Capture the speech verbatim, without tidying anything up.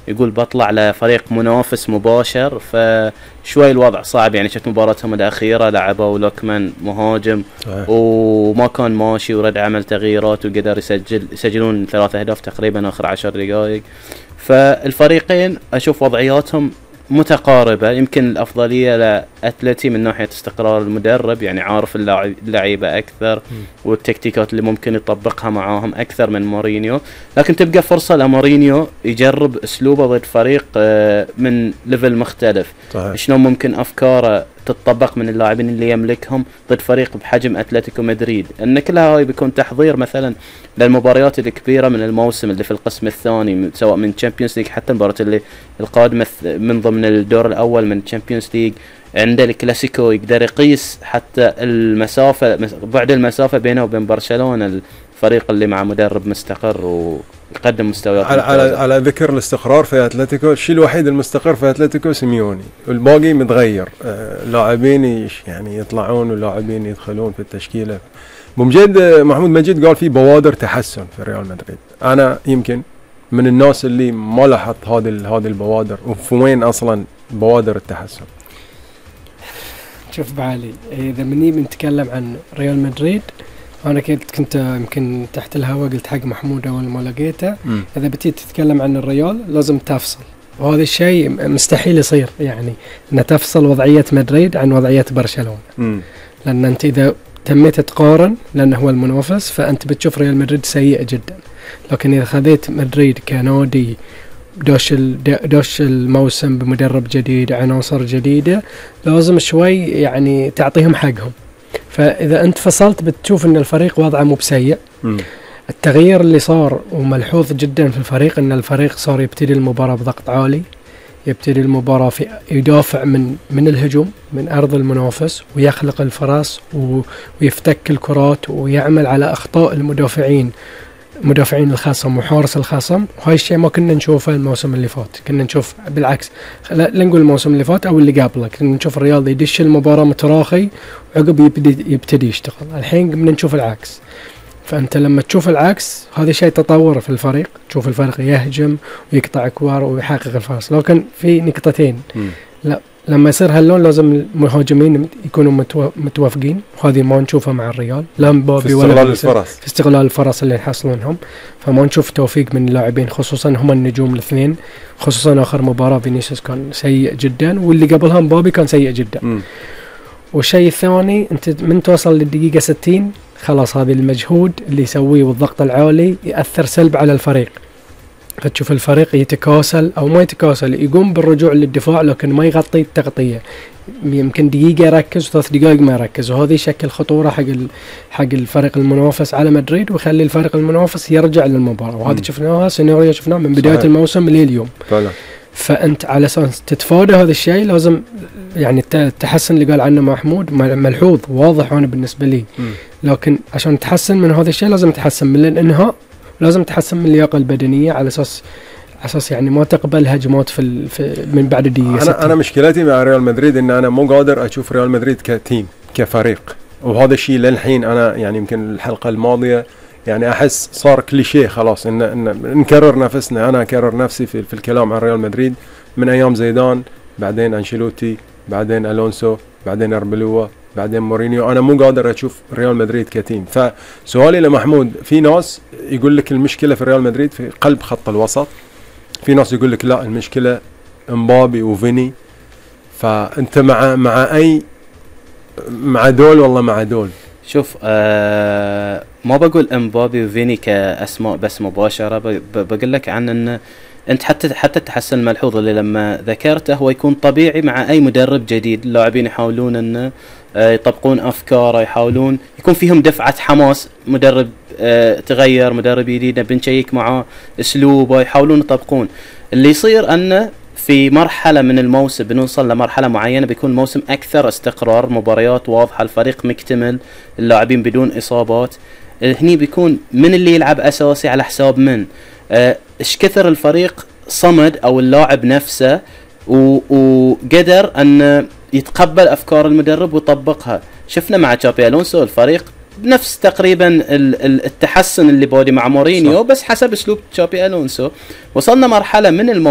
يقول بطلع لفريق منافس مباشر، فشوي الوضع صعب. يعني شفت مباراتهم الأخيرة لعبوا لوكمان مهاجم صحيح. وما كان ماشي ورد عمل تغييرات وقدر يسجل يسجلون ثلاثة أهداف تقريبا آخر عشر دقائق. فالفريقين أشوف وضعياتهم متقاربة، يمكن الأفضلية لأتلتي من ناحية استقرار المدرب، يعني عارف اللعيبة أكثر م. والتكتيكات اللي ممكن يطبقها معاهم أكثر من مورينيو، لكن تبقى فرصة لمورينيو يجرب أسلوبه ضد فريق من ليفل مختلف. صحيح. شلون ممكن أفكاره تطبق من اللاعبين اللي يملكهم ضد فريق بحجم أتلتيكو مدريد. أن كلها هاي بيكون تحضير مثلا للمباريات الكبيرة من الموسم اللي في القسم الثاني، سواء من تشامبيونز ليج حتى المباراة اللي القادمة من ضمن الدور الأول من تشامبيونز ليج. عنده الكلاسيكو يقدر يقيس حتى المسافة، بعد المسافة بينه وبين برشلونة، الفريق اللي مع مدرب مستقر ويقدم مستويات على على, على ذكر الاستقرار في أتلتيكو، الشيء الوحيد المستقر في أتلتيكو سيميوني، والباقي متغير. آه لاعبين يعني يطلعون ولاعبين يدخلون في التشكيلة. بمجد محمود مجيد قال في بوادر تحسن في ريال مدريد. أنا يمكن من الناس اللي ما لاحظت هذه هذه البوادر، وفي وين أصلا بوادر التحسن؟ شوف بعلي، إذا مني بنتكلم عن ريال مدريد، أنا كنت كنت يمكن تحت الهواء قلت حق محمود أول ما لقيته، إذا بتيجي تتكلم عن الريال لازم تفصل، وهذا الشيء مستحيل يصير، يعني أن تفصل وضعية مدريد عن وضعية برشلونة. م. لأن أنت إذا تميت تقارن، لأنه هو المنافس، فأنت بتشوف ريال مدريد سيء جدا. لكن إذا خذيت مدريد كنادي دوش دوش الموسم بمدرب جديد، عناصر جديدة، لازم شوي يعني تعطيهم حقهم. فإذا أنت فصلت بتشوف أن الفريق وضعه مو بسيء. التغيير اللي صار وملحوظ جدا في الفريق أن الفريق صار يبتدي المباراة بضغط عالي، يبتدي المباراة في يدافع من من الهجوم من أرض المنافس، ويخلق الفرص ويفتك الكرات ويعمل على أخطاء المدافعين مدافعين الخصم وحارس الخصم. وهاي الشيء ما كنا نشوفه الموسم اللي فات، كنا نشوف بالعكس، لا نقول الموسم اللي فات أو اللي قبله، كنا نشوف الرياضي يدش المباراة متراخي وعقب يبتدي يبتدي يشتغل. الحين بدنا نشوف العكس. فأنت لما تشوف العكس هذا شيء تطور في الفريق، تشوف الفريق يهجم ويقطع كوار ويحقق الفرص. لكن في نقطتين، م. لا لما يصير هاللون لازم المهاجمين يكونوا متوافقين، وهذه ما نشوفها مع الريال، لا مبابي ولا استغلال الفرص في استغلال الفرص اللي يحصلونهم. فما نشوف توفيق من اللاعبين، خصوصا هم النجوم الاثنين، خصوصا آخر مباراة فينيسيوس كان سيء جدا، واللي قبلها مبابي كان سيء جدا. م. والشيء الثاني، انت من توصل للدقيقة ستين خلاص هذا المجهود اللي يسويه والضغط العالي يأثر سلب على الفريق، فتشوف الفريق يتكاسل أو ما يتكاسل، يقوم بالرجوع للدفاع لكن ما يغطي التغطية، يمكن دقيقة يركز وثلاث دقائق ما يركز، وهذا يشكل خطورة حق حق الفريق المنافس على مدريد، ويخلي الفريق المنافس يرجع للمباراة. وهذا شفناها سيناريو شفناه من بداية صحيح. الموسم لليوم. فعلا. فأنت على أساس تتفادى هذا الشيء لازم يعني التحسن اللي قال عنه محمود ملحوظ واضح أنا بالنسبة لي، م. لكن عشان تحسن من هذا الشيء لازم تحسن من الانهاء، لازم تحسن من اللياقة البدنية على أساس أساس يعني ما تقبل هجمات في, في من بعد الدقيقة. أنا أنا مشكلتي مع ريال مدريد إن أنا مو قادر أشوف ريال مدريد كتيم كفريق، وهذا الشيء للحين أنا يعني يمكن الحلقة الماضية يعني أحس صار كليشيه خلاص إن, إن نكرر نفسنا. أنا أكرر نفسي في, في الكلام عن ريال مدريد من أيام زيدان، بعدين أنشيلوتي، بعدين ألونسو، بعدين أربلوا، بعدين مورينيو. أنا مو قادر أشوف ريال مدريد كتيم. فسؤالي لمحمود، في ناس يقول لك المشكلة في ريال مدريد في قلب خط الوسط، في ناس يقول لك لا المشكلة مبابي وفيني. فأنت مع مع أي مع دول والله مع دول؟ شوف آه ما بقول مبابي وفيني كأسماء بس مباشرة، بقول لك عن أن أنت حتى حتى التحسن الملحوظ اللي لما ذكرته هو يكون طبيعي مع أي مدرب جديد. اللاعبين يحاولون أن يطبقون أفكاره، يحاولون يكون فيهم دفعة حماس، مدرب تغير، مدرب جديد بنشيك معه أسلوبه، يحاولون يطبقون. اللي يصير أنه في مرحلة من الموسم بنوصل لمرحلة معينة بيكون موسم أكثر استقرار، مباريات واضحة، الفريق مكتمل، اللاعبين بدون إصابات. هني بيكون من اللي يلعب أساسي على حساب من، إيش كثر الفريق صمد أو اللاعب نفسه وقدر أن يتقبل أفكار المدرب ويطبقها. شفنا مع تشابي ألونسو الفريق بنفس تقريبا التحسن اللي بودي مع مورينيو، بس حسب أسلوب تشابي ألونسو. وصلنا مرحلة من الم